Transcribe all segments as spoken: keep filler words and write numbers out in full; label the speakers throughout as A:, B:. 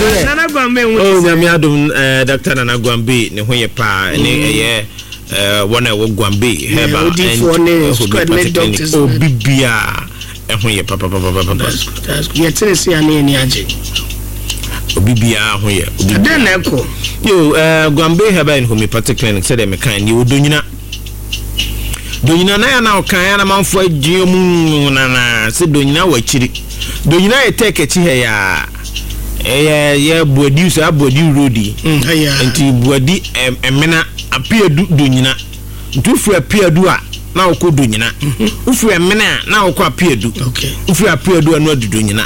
A: Yɛ
B: Nana Gwambe ho
A: oh
B: te sɛ?
A: Nyame adom, eh, Doctor Nana Gwambe ne ho yɛ paa, ne ɛyɛ eh, wɔn a ɛwɔ Gwambe Herbal
B: odiifoɔ ne squad ne
A: Homeopathic Clinic.
B: Doctors.
A: Obi biaa ɛho yɛ papapapapapa.
B: That's good, that's good. Yɛtene se a ne yɛni agye.
A: Obi biaa ho yɛ, obi
B: ɛdɛn
A: biaa.
B: Na ɛkɔ?
A: Yo, uh, Gwambe Herbal and Homeopathic Clinic, sɛdeɛ meka ne wɔ Donyina, Donyina na yɛ na ɔka yɛ na manfoɔ adwene mu nana sɛ Donyina wɔ akyiri. Donyina yɛ tɛk akyi ha yɛ a ɛyɛ yɛ Buadi, saa Buadi road yi.
B: Mm, ɛyɛ.
A: Nti Buadi ɛm, Ɛmena, Apiadu, Donyina. Nti wofiri Apiadu a na wokɔ Donyina, wofiri Ɛmena a na wokɔ Apiadu.
B: Okay.
A: Wofiri Apiadu a na wadu Donyina,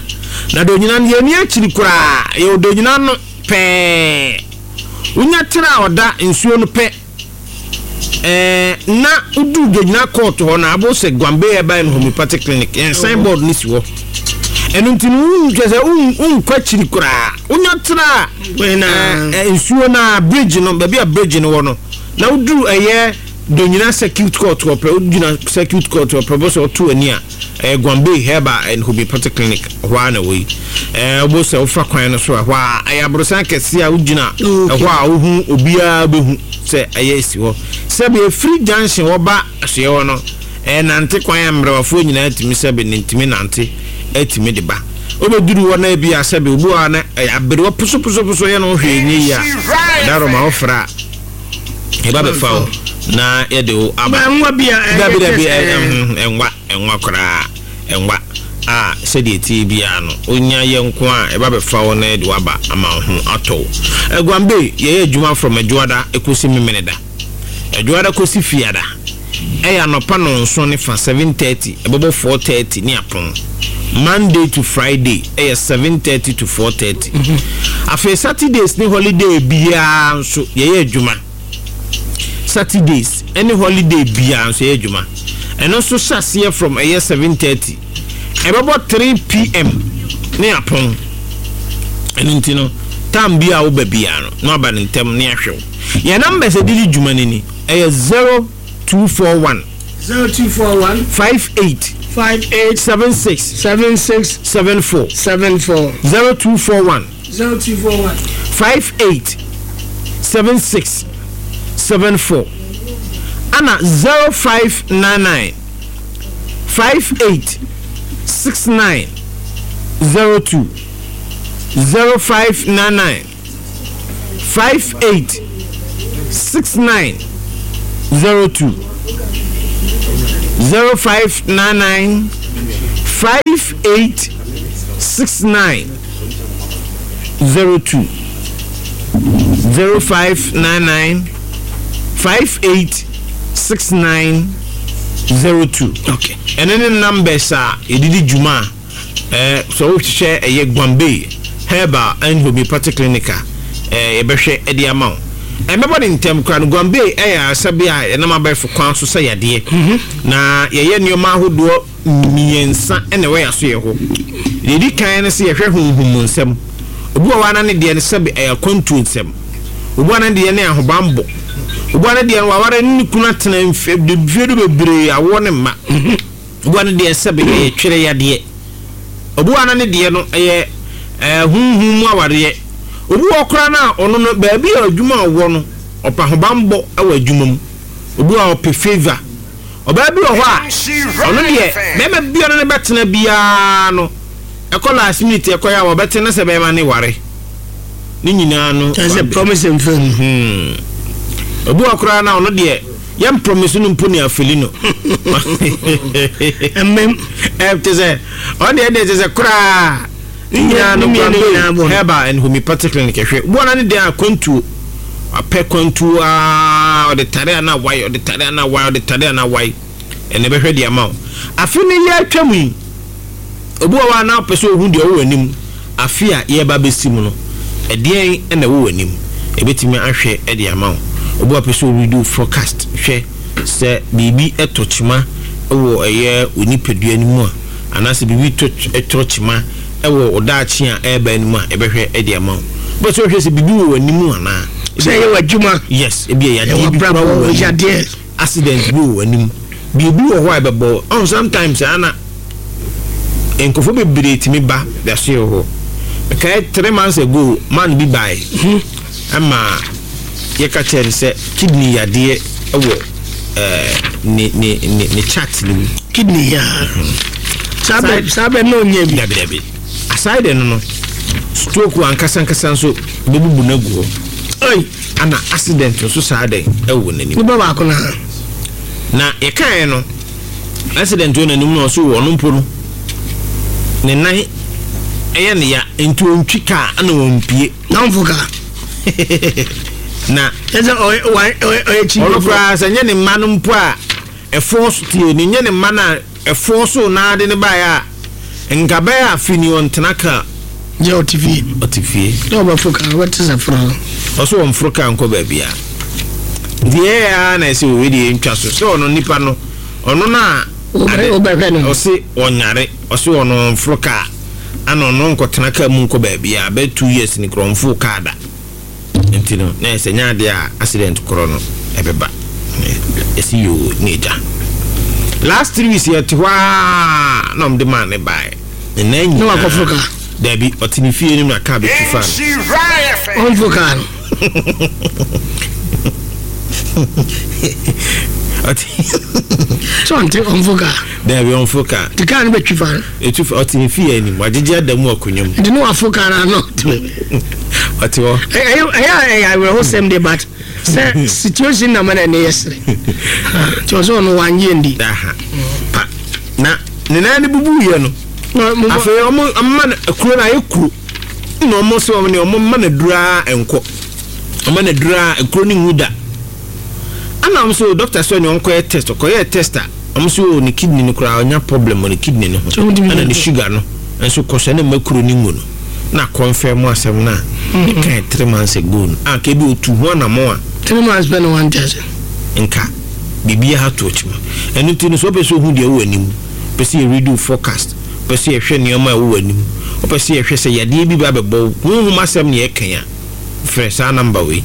A: na Donyina no yɛni akyiri koraa, yɛwɔ Donyina no pɛɛ. Wonya tena a ɔda nsuo no pɛ ɛɛ na woduru Donyina court hɔ na abo sɛ Gwambe Herbal and Homeopathic Clinic, yɛn signboard no si hɔ. Ɛno nti no wonhwɛ sɛ won- wonkɔ akyiri koraa, wonya tena a
B: Wei na
A: ɛɛ, ɛ, nsuo no a bridge no, baabi a bridge no wɔ no, na woduru ɛyɛ Donyina Circuit Court hɔ pɛ, wogyina Circuit Court hɔ pɛ bɔ sɛ ɔto ani a ɛyɛ Gwambe Herbal and Homeopathic Clinic hɔ a na wɔ yi. Ɛɛ wobɔ sɛ wofa kwan no so a, hɔ a ɛyɛ aborosan kɛseɛ a wogyina
B: Okay.
A: ɛhɔ a wohu, obiara bɛhu sɛ ɛyɛ esi hɔ. Sɛbi efiri junction wɔba asoɛ hɔ no, ɛyɛ nante kwan a mmerɛwafoɔ nyinaa tumi sɛbi ne ntumi nante ɛtumi de ba. Wobɛduru hɔ na ebi a sɛbi obi wɔ hɔ a na ɛyɛ aberewa posoposoposo yɛ no hwee nye yi a daroma wofra a yɛba bɛfa wo na yɛde wo aba.
B: Ba nwa bi a ɛyɛ
A: Dabi, dabi.
B: kyɛ sɛ-
A: ɛ- ɛnwa ɛnwa koraa, ɛnwa a sɛdeɛ tie biara no onya yɛ nko a ɛba bɛfa wo na yɛde wo aba ama wo ho atɔ wo. Aguambe, yɛyɛ adwuma from Adwoada ɛkɔsi Memeneda. Adwoada kɔsi Fiada ɛyɛ anɔpa nɔnson ne fa, seven thirty, ɛbɛbɔ four thirty ne apɔn. Monday to Friday ɛyɛ seven thirty to four thirty. Afei Saturdays ne holiday biara nso yɛyɛ adwuma. Saturdays ɛne holiday biara nso yɛyɛ adwuma. Ɛno nso hyɛ aseɛ from ɛyɛ seven thirty, ɛbɛbɔ three p m ne apɔn. Ɛno nti no time bi a woba biara no na waba ne ntɛm ne ahwɛ wo. Yɛn numbers a ɛdidi dwuma no ni, ɛyɛ zero two four one
B: zero two four one
A: five eight
B: five eight
A: seven six
B: seven six
A: seven four.
B: seven four.
A: zero two four one
B: zero two four one
A: five eight seven six seven four, ana zero five nine nine five eight six nine zero two, zero five nine nine five eight six nine zero two, zero five nine nine five eight six nine zero two, zero five nine nine five eight six nine zero two.
B: Okay.
A: Ɛno ne numbers a yɛdedi dwuma a ɛɛ sɛ wohwehwɛ ɛyɛ Gwambe Herbal and Homeopathic Clinic a ɛɛ yɛbɛhwɛ ɛde ama wo. Ɛmɛbɔ ne ntɛm koraa no, Gwambe ɛyɛ asabi a yɛnam abɛɛfo kwan so sɛ yadeɛ na yɛyɛ nneɛma ahodoɔ mmiɛnsa ɛna ɛwɔ yɛ aso yɛ hɔ. Deɛ ɛdi kan no sɛ yɛhwɛ honhom nsɛm. Obi wɔ hɔ a na ne deɛ no sɛbi ɛyɛ akwantuo nsɛm, obi wɔ ne deɛ ne ahobanbɔ, obi wɔ ne deɛ no waware ne ne kunu atena mfe mfe do bebree, awoɔ ne mma, obi wɔ ne deɛ sɛbi ɛyɛ twerɛ yadeɛ, obi wɔ ne deɛ no ɛyɛ ɛɛ huhum mu awareɛ, obi wɔ koraa na ɔno no baabi a adwuma a ɔwɔ no ɔpɛ ahobanbɔ ɛwɔ adwuma mu, obi wɔ a ɔpɛ favour. Ɔbaa bi wɔ hɔ a ɔno deɛ bɛrima bi a ɔno ne bɛtena biara no ɛkɔ last minute ɛkɔ yɛ a wɔbɛtena sɛ bɛrima ne ware ne nyinaa no.
B: Kyerɛ sɛ promise and fail.
A: Hmm. Obi wɔ koraa na ɔno deɛ yɛn promise no mpo ne afeli no.
B: Ɛmɛm.
A: Ɛ te sɛ ɔno deɛ deɛ te sɛ koraa ne nyinaa no
B: Ne mmienu nyinaa bɔ no.
A: Herbal and Homeopathic Clinic ɛhwɛ obi wɔ na ne deɛ akwantuo, apɛ kwantuo aa, ɔde tare ana wae, ɔde tare ana wae, ɔde tare ana wae, ɛna ɛbɛhwɛ deɛ ama wo. Afe ne yɛ atwa mu yi, obi wɔ hɔ a na ɔpɛ sɛ ohun deɛ ɔwɔ anim afe a yɛreba bɛsi mu no, ɛdeɛn ɛna ɛwɔ anim, ebɛtumi ahwɛ ɛde ama wo. Obi wɔ pɛ sɛ ɔredo forecast hwɛ sɛ biribi ɛtɔ kyima ɛwɔ ɛyɛ onipadua no mu a, anaasɛ biribi tɔ ɛtɔ kyima ɛwɔ ɔdaakye a ɛreba no mu a, ɛbɛhwɛ ɛde ama wo. Bɛ sɛ ɔhwɛ sɛ biribi wɔ w'anim anaa.
B: Sɛ ɛyɛ w'adwuma.
A: Yes, ebi yɛ yadeɛ
B: ɛwɔ
A: bi kora wɔ
B: abrabɔ
A: w'anim,
B: yadeɛ.
A: Accident bi wɔ w'anim, biribi wɔ hɔ a ɛbɛbɔ ɔn. Sometimes ana nkurɔfoɔ bebree tumi ba daso yɛ hɔ. Meka Mekae three months ago, man bi bae ɛma yɛka kyerɛ no sɛ kidney yadeɛ ɛwɔ ɛɛ ne ne ne ne chart no mu.
B: Kidney ya, saa bɛ saa bɛ na onyɛ bi.
A: Dabi, dabi, aside no no stroke ankasa ankasa nso bɛbubu no agu hɔ.
B: Ɔyi.
A: Ana accident nso saa dɛn ɛwɔ n'anim.
B: Nipa baako na.
A: Na yɛkaeɛ no, accident wɔ n'anim na ɔso wɔ ɔno mpo no ne nan ɛyɛ ne ya, nti ɔntwi kaa ana wɔmpie.
B: N'anfo kaa.
A: Na
B: ɛsɛ ɔyɛ ɔyɛ ɔyɛ kyi.
A: Ɔno koraa sɛ nyɛ ne mma no mpo a ɛfoɔ so tie ne nyɛ ne mma no a ɛfoɔ so naade ne baeɛ a, nka bɛyɛ afe ni ɔntena kaa.
B: Yɛ ɔte fie.
A: Ɔte fie.
B: Na ɔbɛfo kaa, ɔbɛte sɛ foro no.
A: Ɔso wɔmforo kaa nkɔ baabi a, nti yɛyɛ a na ɛsɛ owe deɛ ntwa so sɛ ɔno nipa no, ɔno no a
B: Wobɛ- wobɛhwɛ no.
A: Ɔse ɔnyare, ɔse ɔno ɔmforo kaa ana ɔno nkɔtena kaa mu nkɔ baabi a bɛyɛ two years ni korɔ ɔmforo kaa da. Nti no na ɛsɛ nyɛ adeɛ a accident korɔ no ɛbɛba. Ɛsi yoo ne agya last three weeks yɛte hɔ a na ɔmde maa ne baeɛ ne nan
B: Na
A: nyinaa.
B: wakɔforo kaa?
A: Dabi, ɔte ne fie no mu na kaa bɛtwi fa no.
B: Ɔnfo kaa no.
A: Ɔte
B: sɛ ɔnte ɔnfo kaa.
A: Dabi, ɔmforo kaa.
B: Nti kaa no bɛtwi fa no.
A: Ɛtu fa, ɔte ne fie anim, wagyegye ada mu akonnwa mu.
B: Nti ne wafo kaa no ano ɔte baabi.
A: Ɔte hɔ.
B: ɛyɛ ɛyɛ a ɛyɛ awerɛhosɛm de, but sɛ situation na ma na ɛne yɛ sere nti ɔsɛ ɔno wanyɛ ndi.
A: Aha pa na ne nan no bubuyɛ no.
B: Na mo-
A: Afei ɔmo ɔmo no kuro no ayɛ kuro na ɔmo sɛ ɔmo ne ɔmo ma no duraa nkɔ, ɔmo ma no duraa kuro no nwu da. Ana ɔmo sɛ doctor sɛ ɔne ɔnkɔyɛ test, ɔkɔyɛ test a, ɔmo sɛ o ne kidney no koraa ɔnya problem wɔ ne kidney no ho.
B: So ɔmo
A: ɛna ne sugar no nso kɔ so ɛna mma kuro no nwu no na confirm asɛm no a ɛkae three months ago no a kebi otu ho anamɔ a.
B: Three months pɛ na wante ase.
A: Nka biribiara to akyima. Ɛno nti no, sɛ wopɛ sɛ ohu deɛ ɛwɔ anim, pɛ sɛ yɛredo forecast, pɛ sɛ yɛhwɛ nneɛma a ɛwɔ anim, wopɛ sɛ yɛhwɛ sɛ yadeɛ bi ba bɛbɔ wo, honhom asɛm ne yɛkan a, frɛ saa number wei: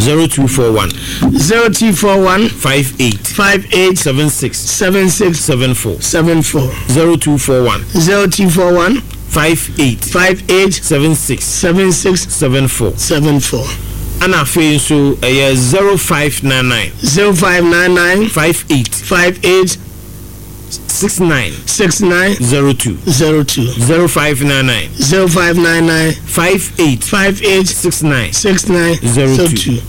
A: zero two four one
B: zero two four one
A: five eight
B: five eight
A: seven six
B: seven six
A: seven four.
B: seven four.
A: zero two four one
B: zero two four one
A: five eight
B: five eight
A: seven six
B: seven six
A: seven four.
B: seven four.
A: Ana afei nso ɛyɛ zero five nine nine
B: zero five nine nine
A: five eight
B: five eight
A: six nine
B: six nine
A: zero two.
B: Zero two.
A: zero five nine nine
B: zero five nine nine
A: five eight
B: five eight
A: six nine
B: six nine
A: zero two.
B: Zero two.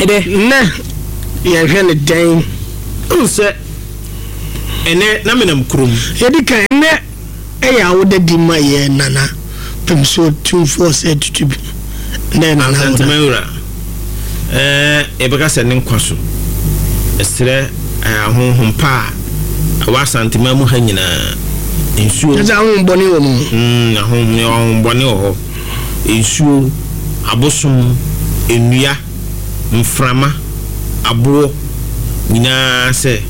A: Ɛdɛ
B: nnɛ yɛhwɛ ne dɛn?
A: N sɛ ɛnɛ na menam kurom.
B: Yɛdi kan, nnɛ ɛyɛ awoda di ma yɛ nana pɛmso tumfoɔ sɛ tutu bi nnɛ nana awoda.
A: Asantema ɛɛ yɛbɛka sɛ ne nkwa so ɛsrɛ ɛɛ ahonhom pa a ɛwɔ Asantema mu ha nyinaa, nsuo.
B: Kyɛ sɛ ahombɔne wɔ mu.
A: mm, ahonhom ahombɔne wɔ hɔ, nsuo, abosom, nnua, mframa, aboɔ nyinaa sɛ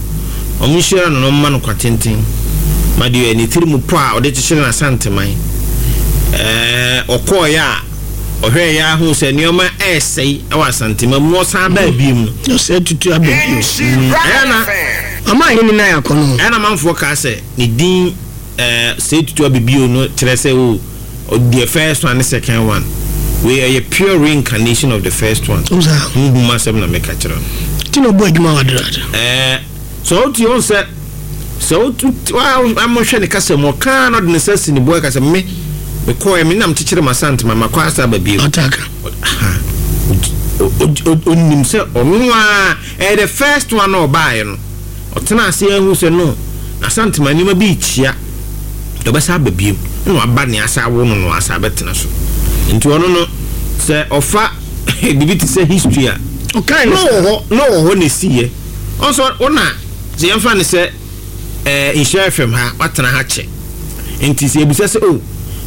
A: ɔmo nhyira no na ɔmma no kwa tenten ma deɛ ne tiri mu po a ɔde kyekyere n'Asanteman. ɛɛ ɔkɔɔeɛ a ɔhwɛɛ yɛ ahu sɛ nneɛma ɛɛsɛe ɛwɔ Asantema mu na ɔsan baa biem no.
B: Ɔsɛ tutu aba bio.
A: Ɛyɛ na
B: ɔma ahene no ayɛ akɔno.
A: Ɛna manfoɔ kaa sɛ ne din ɛɛ sɛ tutu abibio no kyerɛ sɛ o deɛ first one ne second one wei ɛyɛ pure reincarnation of the first one.
B: Wo saa.
A: Huhum asɛm na meka kyerɛ no.
B: Nti na ɔbɔ adwuma wɔ aderade.
A: ɛɛ sɛ wotu wɔn sɛ sɛ wotu wa amahwɛ ne kasa mu, ɔkaa na ɔde ne nsa si ne bo ɛka sɛ me mekɔɛ me nam kyekyere ma santema makɔ asa aba bio.
B: Ɔtaka.
A: Onim sɛ ɔno a ɛyɛ the first one na ɔbaeɛ no, ɔtena ase ahu sɛ no Asantema nneɛma bi rekyia, ɔbɛsa aba biem na waba ne asa awo no no asa abɛtena so. Nti ɔno no sɛ ɔfa biribi te sɛ history a
B: ɔkae
A: na
B: no.
A: ɔwɔ hɔ na ɔwɔ hɔ na esiiɛ. Ɔnso ɔna sɛ yɛmfa ne sɛ ɛɛ Nhyira F M ha, watena ha kyɛ, nti sɛ ebisa sɛ o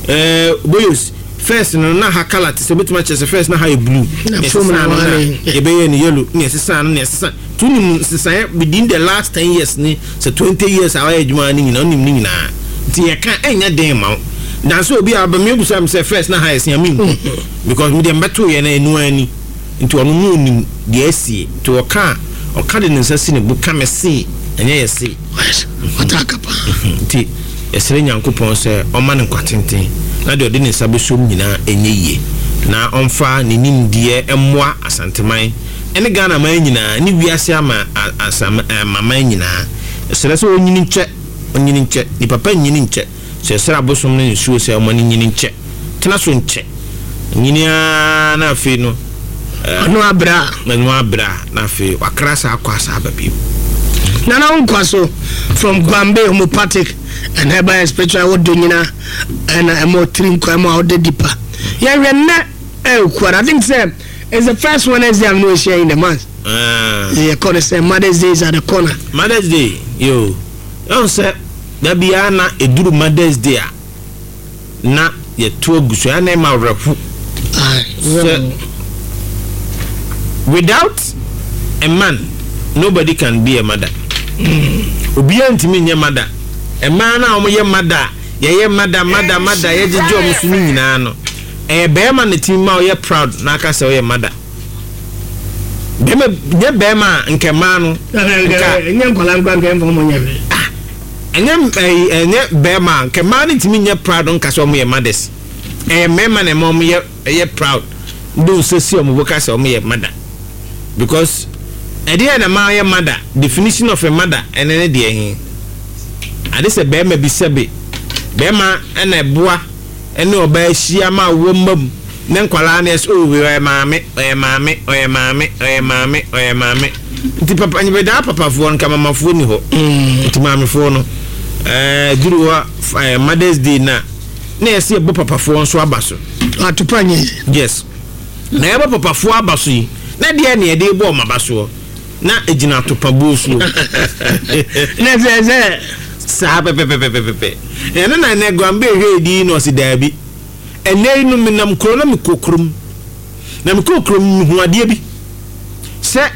A: ɛɛ Boyos, first no na ha colour te sɛ, obetumi akyerɛ sɛ first na ha yɛ blue,
B: Na
A: na
B: fom
A: ɛsesa
B: na
A: no na
B: wale.
A: yɛbɛyɛ no yellow na ɛsesa no na ɛsesa tu nim nsesaeɛ within the last ten years ne sɛ twenty years a wayɛ adwuma no nyinaa, onim ne nyinaa. Nti yɛka ɛnyɛ den ma wo nanso obi a aba mi ebisa mi sɛ first na ha yɛ sia mi nhu because mi deɛ mbɛto yɛ no enu ani. Nti ɔno no onim deɛ asie, nti ɔka a ɔka de ne nsa si ne bo ka me se ɛnyɛ yɛ se.
B: Ɔtaka paa.
A: Nti yɛsrɛ Nyankopɔn sɛ ɔma no nkwa tenten Na deɛ ɔde ne nsa bɛsom nyinaa ɛnyɛ yie, na ɔmfa ne nimdeɛ mmoa Asanteman ɛne Ghana man nyinaa ne wiase ama asam amaman nyinaa. Ɛsrɛ sɛ ɔnyini nkyɛ, ɔnyini nkyɛ. Nipa pa nyini nkyɛ. Sɛ ɛsrɛ abosom ne nsuo sɛ ɔma no nyini nkyɛ, tena so nkyɛ, nyini ara na afei no
B: ɔno abrɛ a
A: ɛno abrɛ a, na afei wakra saa akɔ asa aba bio.
B: Nana nkwa so from Gwambe Homeopathic and Herbal and Spiritual. Wodo nyina ɛna ɛma ɔtiri nkwa ɛma ɔde dipa yɛhwɛ nnɛ ɛɛkuara. I think sɛ it's the first Wednesday I'm no share in the month.
A: Ah.
B: Yɛkɔ no sɛ Mother's Day is at the corner.
A: Mother's Day yo, ɛhu sɛ da biara na ɛduru Mother's Day a, na yɛto agu so ɛna ɛma awerɛho sɛ without a man, nobody can be a mother. Obiara ntumi nyɛ mother. Mmaa no a wɔyɛ mother a, yɛyɛ mother, mother, mother, yɛgyegye wɔn so no nyinaa no, ɛyɛ bɛrima na tumi ma ɔyɛ proud na aka sɛ ɔyɛ mother. Bɛrima nyɛ bɛrima a, nkɛ mmaa no nka
B: ɛnyɛ nkwala nkwa nkɛ mfa ɔmɔ nyɛ hwee.
A: Ɛnyɛ ɛyi, ɛnyɛ bɛrima a, nkɛ mmaa no ntumi nyɛ proud nka sɛ wɔn yɛ mothers. Ɛyɛ mmarima na ɛma wɔn yɛ ɛyɛ proud de nsa si wɔn bo ka sɛ wɔn yɛ mother, because ɛdeɛ na mmaa yɛ mother, definition of a mother, ɛne ne deɛ he ade sɛ bɛrima bi, sɛbe, bɛrima ɛna ɛboa ɛne ɔbaa ahyia ma awɔ mma mu ne nkwalaa no yɛ sɛ, "Oh, ɔyɛ maame, ɔyɛ maame, ɔyɛ maame, ɔyɛ maame, ɔyɛ maame." Nti papa nyɛbɛdaa papafoɔ no nka mamafoɔ ni hɔ. Nti maamefoɔ no ɛɛ duru hɔ ɛɛ Mother's Day na na yɛsɛ yɛbɔ papafoɔ nso aba so.
B: Atopa nyɛ.
A: Yes, na yɛbɔ papafoɔ aba so yi, na deɛ ne yɛde bɔ ɔmo aba soɔ na egyina atopa buo soɔ.
B: Na sɛ sɛ
A: Saa pɛpɛpɛpɛpɛ ɛno na ɛnɛ Guambe ehwɛ edi na ɔsi daabi. Ɛnɛ yi no, menam kuro na mekɔ kurom, na mekɔ kurom mehu adeɛ bi sɛ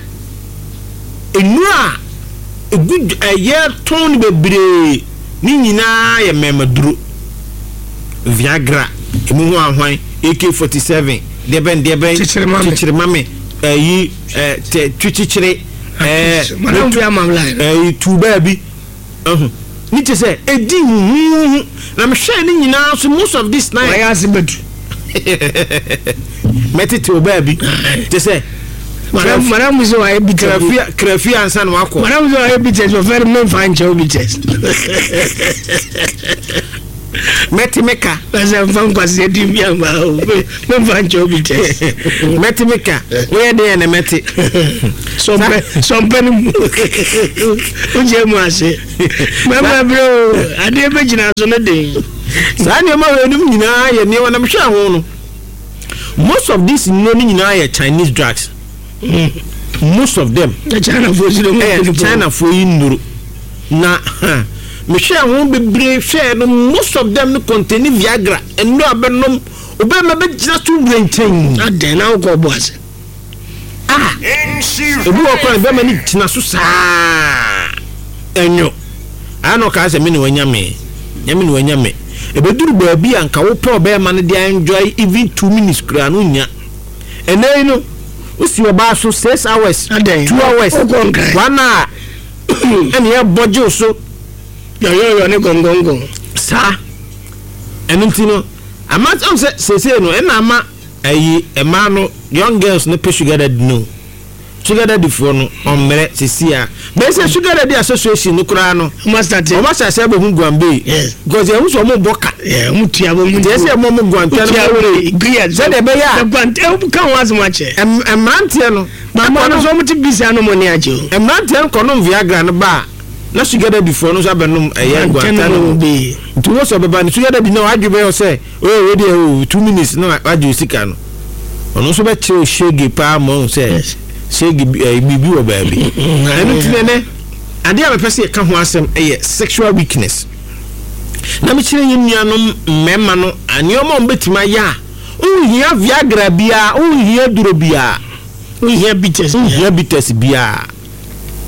A: nnuro a egu ɛyɛ tɔn no bebree ne nyinaa yɛ mmɛmaduro, Viagra emu ho ahwan, A K forty seven, deɛbɛn deɛbɛn.
B: Kyekyere mame.
A: Kyekyere mame, ɛyi ɛ tɛ twikyekyere ɛɛ
B: Madam fi ama line.
A: Ɛyi tu baabi ɛho ne kyɛ sɛ edi huhuhu na mehwɛ ne nyinaa so, most of this na
B: wayɛ ase bɛtu.
A: Mɛtete o baabi kyɛ sɛ
B: madam madam sɛ wayɛ bitters.
A: Krafi krafi ansa na wakɔ.
B: Madam sɛ wayɛ bitters, ɔfɛ no memfa nkyɛw bitters.
A: Mɛte meka.
B: Ɛsɛ mfa nkwasi di mi ama o, memfa nkyɛw bitters.
A: Mɛte meka, woyɛ deɛ na mɛte.
B: Sɔmpɛ sɔmpɛ no mu wogyɛ mu ase mɛma berɛ o, adeɛ bɛgyina so no den.
A: Saa nneɛma wei nom nyinaa yɛ nneɛma na mehwɛ ho no, most of these nnuro no nyinaa yɛ Chinese drugs, most of them.
B: Chinafoɔ si no.
A: Ɛyɛ Chinafoɔ yi nnuro na ha, mehwɛ ho bebree hwɛ no, most of them no contain Viagra. Nnuro a bɛnom, obɛma bɛgyina so wura nkyɛn.
B: Adɛn na wokɔ bɔ ase?
A: Ah, ebi wɔ kwan bɛma no gyina so saa ɛnwo ayɛ na ɔkaa sɛ me ne wanya me, nyame ne wanya me. Ɛbɛduru baabi a nka wopɛ ɔbɛrima no de enjoy even two minutes koraa no nya. Ɛnɛ yi no, wosi ɔbaa so six hours,
B: Adɛn?
A: two hours,
B: Wokɔ Nkran.
A: one hour, ɛne ɛbɔ gye wo so.
B: Yɔyɔyɔ ne gɔngɔngɔn.
A: Saa ɛno nti no, ama ɔn sɛ seesei no, ɛna ama ɛyi ɛmaa no, young girls no pɛ sugar daddy no. Sugar daddy foɔ no ɔmmerɛ sisi a bɛyɛ sɛ sugar daddy association no koraa no,
B: ɔma start.
A: Ɔmo ahyɛ aseɛ abɛhu Guambe
B: Yes.
A: because yɛn nso ɔmo bɔ ka.
B: Ɔmo tua bɔ mu.
A: Nti ɛsɛ ɛmo ɔmo guantɛ no sɛdeɛ ɛbɛyɛ a
B: guantɛ ka ho asɛm akyɛ.
A: ɛm- mmeranteɛ no
B: mama no nso ɔmo te bisi ano mo ni agye o.
A: Mmeranteɛ no kɔnom Viagra no ba a, na sugar daddy foɔ no nso abɛnom ɛyɛ
B: guantɛ
A: guantɛ
B: no
A: no.
B: bi.
A: Nti wọ́n sọ bɛba no, sugar daddy náà wadwe bɛyɛ sɛ oye, wei deɛ o, two minutes na wagye o sika no. Ɔno nso bɛkyerɛ o shege paa ma ɔn sɛ
B: Yes.
A: shege bi- ɛɛ biribi wɔ baabi. Ɛno ti nɛ adeɛ a mepɛ sɛ yɛka ho asɛm ɛyɛ sexual weakness, na mekyerɛ yɛn nuanom mmarima no nneɛma a wɔbɛtumi ayɛ a wonhia Viagra biara, wonhia duro biara.
B: Wohia bitters.
A: Wonhia bitters biara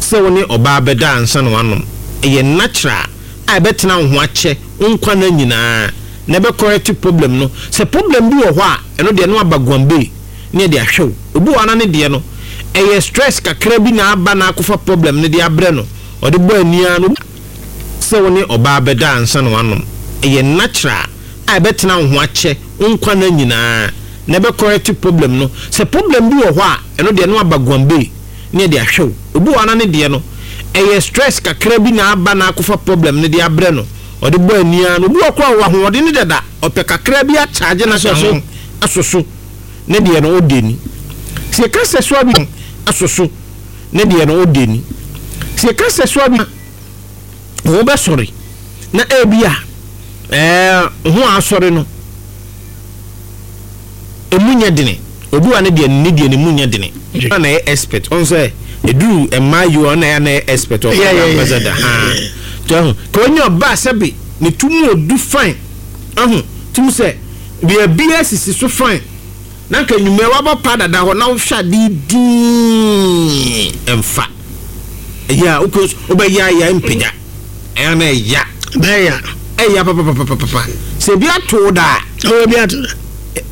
A: sɛ wo ne ɔbaa bɛda ansa na wanom. Ɛyɛ natural a ɛbɛtena wo ho akyɛ wo nkwa no nyinaa na ɛbɛcorrect problem no. Sɛ problem bi wɔ hɔ a, ɛno deɛ no aba Guambe ne yɛde ahwɛ wo. Obi wɔ hɔ na ne deɛ no ɛyɛ stress kakra bi na aba na akɔfa problem no de abrɛ no, ɔde bɔ ania no. Sɛ wo ne ɔbaa bɛda ansa na wanom, ɛyɛ natural a a ɛbɛtena wo ho akyɛ wo nkwa no nyinaa na ɛbɛ correct problem no. Sɛ problem bi wɔ hɔ a, ɛno deɛ no aba Guambe ne yɛde ahwɛ wo. Obi wɔ ana ne deɛ no ɛyɛ stress kakra bi na aba na akɔfa problem no de abrɛ no, ɔde bɔ ania no. Obi wɔ kora wɔ ahoɔden ne dada, ɔpɛ kakra bi akyagye na
B: Asɔ so.
A: Aso so ne deɛ no ɔde ni. Sɛ yɛka sexual bi aso so ne deɛ no ɔde ni. Sɛ yɛka sexual bi wɔn bɛsɔre na ebi a ɛɛ ho asɔre no emu nyɛ dene. Obi wa ne deɛ ne deɛ ne mu nyɛ dene ɔna na yɛ expert ɔn sɛ eduru mmaa yi, ɔna yɛ na yɛ expert ɔkɔ
B: Yeah, yeah, yeah.
A: Ambassador ha tó ɛho ka onye ɔbaa sɛbi ne tu mu odu fine, ɛho tum sɛ beebi esisi so fine na nka enyimɛ wabɔ pa dada hɔ na wohwɛ ade dii ɛnfa ɛyɛ a wokɔ wobɛyɛ ayɛ mpagya ɛyɛ na ɛya.
B: Bɛyɛ.
A: Ɛyɛ papapapapapa sɛ ebi ato da.
B: Ɔwɔ bi ato da.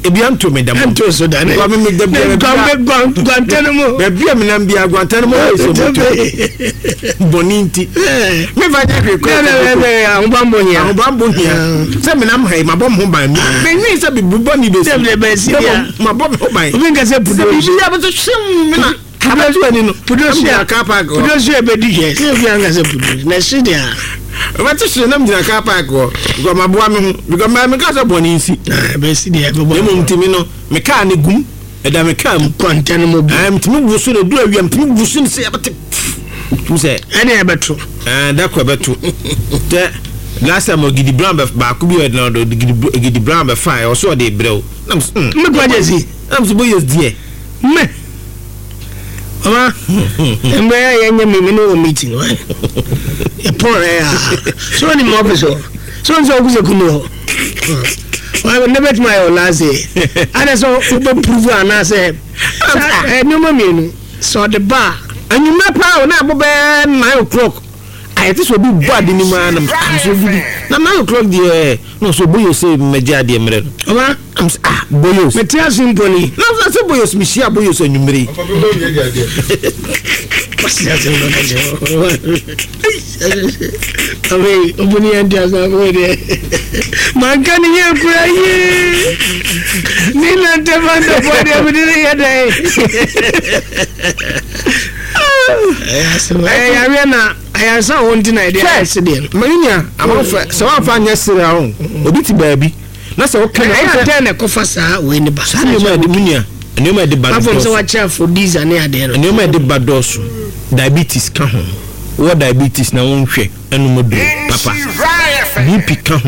A: Ebi anto me da mo.
B: Ɛnto so da ne.
A: Because me da biara
B: Guantanamo.
A: Baabi a menam bia Guantanamo hɔ sɛ moto bɔne nti mefa nyɛ hwee kɔ.
B: Ahobanbɔ hia.
A: Ahobanbɔ hia sɛ menam ha yi, mabɔ me ho ban. Menwee sɛ bibi bɔne bɛsi.
B: Sɛ bɛsi bia.
A: Mabɔ me ho ban.
B: Obi nka sɛ
A: sɛ
B: pudo.
A: biribi yɛ bɛsɛ hwem me na abɛto ani no
B: Pudo so
A: gyina car park hɔ.
B: Pudo so ɛbɛdi hwɛ sɛ obi anka sɛ pudo na ɛhye deɛ a.
A: Wobɛte hwee nam gyina car park hɔ because maboa me ho, because ma meka sɛ bɔne nsi.
B: Bɛsi deɛ
A: na
B: ɛbɛbɔ.
A: mmom ntimi no me car ne gum ɛda me car mu.
B: Guantanamo bi.
A: Ɛɛ, ntimi bu so na edu awia ntimi bu so ne sɛ yɛbɛte tum sɛ.
B: Ɛne ɛbɛto.
A: Ɛɛ, da kɔ ɛbɛto tɛ. Last time Gidi Brown bɛ baako bi ɔde ɔde Gidi Gidi Brown bɛ fa ɛ ɔso ɔde brɛw nam so mm
B: Me kɔ agye si.
A: Nam so boyos deɛ.
B: Me mama mmerɛ a yɛnyɛ me me ne wɔ meeting wɔ yɛpɔn ɛ a so ɔne mu office hɔ so ɔne sɛ ɔku sɛ kunu hɔ wɔ ne bɛtumi ayɛ wɔ last day ana sɛ wobɛ prove anaasɛ sa- ɛ, nneɛma mmienu sɛ ɔde ba a.
A: Anwummerɛ paa o, na abɔ bɛɛ nine o'clock ayɛ te sɛ obi bɔ ade ne mu ara nam am so gidi na nine o'clock deɛ na ɔsɛ boyos sɛ mmɛgye adeɛ mmerɛ no.
B: Ɔma.
A: Am sɛ, ah, boyos.
B: Mete ase mpo ni.
A: Na sɛ sɛ boyos mehyia boyos anwummerɛ yi.
B: Kwasi ase mpo ka kyerɛ afei obuni yɛn nti asa afei deɛ manka ne yɛ kura yie ne nante fa ntɔfoɔ deɛ mede ne yɛ dɛn. Ɛyɛ yareɛ na ayaresa wɔ nti na yɛde ayɛ se deɛ no.
A: Ma nua amanfɛ sɛ woamfa nyɛ sere a o, obi te baabi na sɛ woka no
B: ɛyɛ
A: sɛ
B: adɛn na ɛkɔfa saa wei ne ba?
A: Saa nneɛma a ɛde mu nua, nneɛma a ɛde ba no
B: afɔm sɛ
A: dɔɔso.
B: wakyɛ aphrodisia ne adeɛ no.
A: Nneɛma a ɛde ba dɔɔso. Diabetes ka ho. Wɔ diabetes na wonhwɛ ɛnom aduro papa, B P ka ho.